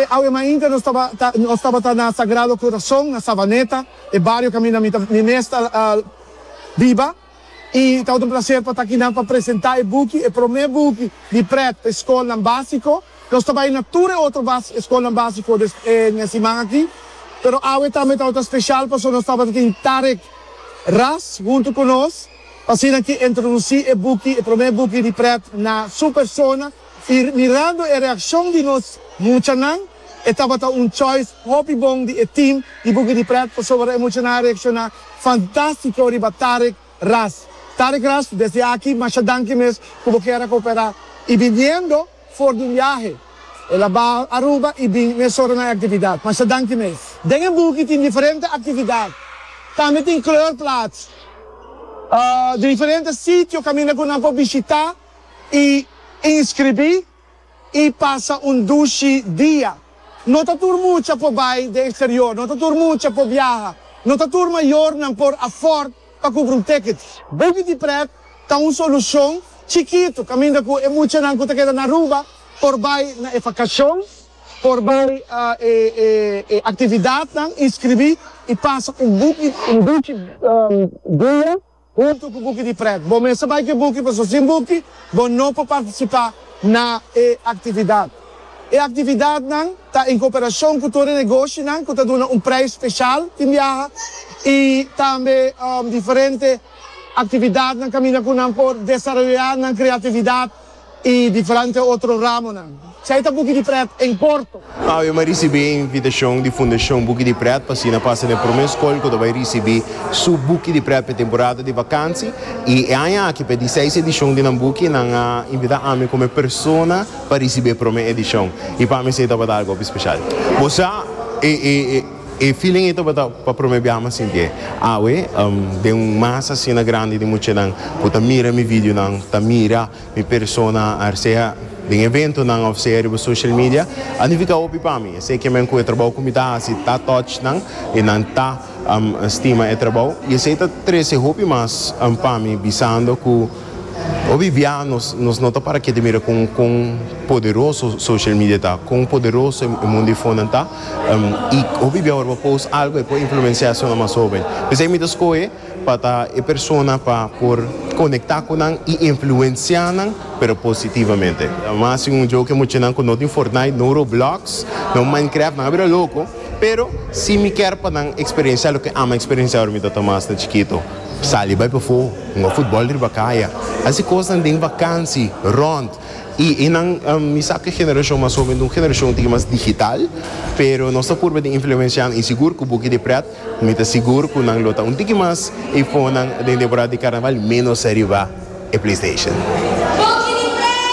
Awe awe mainta nos tabata nos tabata na Sagrado Corazon na Savaneta, e bario kaminda mi ta mi mes ta biba. I tabata un placer pa ta akinan pa presenta e buki, e prome buki di pret pa e skolnan basico. Nos ta bai na tur e otro bas e skolnan basico des e siman aki. Pero awe tambe tabata special pasobra nos tabata tin Tarek Ras hunto cu nos pa asina ki introduci e buki, e prome buki di pret na su persona. I mirando e reaccion di nos muchanan, e tabata un choice hopi bon di e team di Buki di Pret pasobra e muchanan a reacciona fantastico riba Tarek Ras. Tarek Ras, desde aki masha danki mes cu bo kier a coopera y biniendo for di un biahe. El a ba Aruba y bin mesora na e actividad. Masha danki mes. Den e buki tin diferente actividad. Tambe tin kleurplaats di diferente sitio caminda cu nan por bishita y inscribi y pasa un dushi dia. No ta tur mucha por bay den exterior, no ta tur mucha por biaha, no ta tur mayornan por afford pa cumpra un ticket. Buki di Pret ta un solucion chikito caminda cu e muchanan cu ta keda na Aruba por bay na e vacacion, por bay e actividadnan, inscribi y pasa un buki un dushi dia. Huntu ku buki di prèt. Bo mester bai ku e buki pasobra sin buki bo no por partisipá na e aktividat. E aktividatnan ta en koperashon ku tur e negoshinan ku ta duna un preis speshal tin biaha i tambe diferente aktividatnan kaminda ku nan por desaroyá nan kreatividat. I diferente otro ramonan. Esei ta Buki di Pret en korto. Awe mi a risibí e invitashon di Fundashon Buki di Pret pa asina pasa na e promé skol ku ta bai risibí su Buki di Pret pa e temporada di vakansi. I e aña aki pa e di seis edishon di nan buki nan a invitá ami komo e persona pa risibí e promé edishon. I pa mi esei tabata algu hopi speshal. Bo sa e e feeling ei tabata pa promé biaha mi a sintié. Awe den un masa asina grandi di muchanan ku ta mira mi videonan, ta mira. Mi persona ar sea den eventonan of sea riba social media a nifica hopi pa mi. Esey ke men cu e trabou cu mi ta haci ta touch nan y nan ta stima e trabou y esey ta trece hopi mas pa mi bisando cu hopi bia nos nos no ta para kete mira con con poderoso social media ta, con poderoso e mundo di fonan ta y hopi bia ora bo post algo e por influencia esnan mas hoben. Pesey mi ta scoge. Pa ta e persona pa por conecta cu nan y influencia nan, pero positivamente. Mas sin un joke muchanan cu no tin Fortnite, no Roblox, no Minecraft, nan a bira loco, pero si mi kier pa nan experiencia loke ami a experiencia ora mi ta mas na chikito, sali bay pafo, hunga futbol riba caya, haci cosnan den vakantie, rond. Y nan, mi sa cu e generacion mas hoben ta un generacion un tiki mas digital, pero nos ta purba di influencia nan y sigur cu Buki di Pret, Mi ta sigur ku nan lo ta un tiki mas e fonan den temporada di karnaval menos ariba e PlayStation.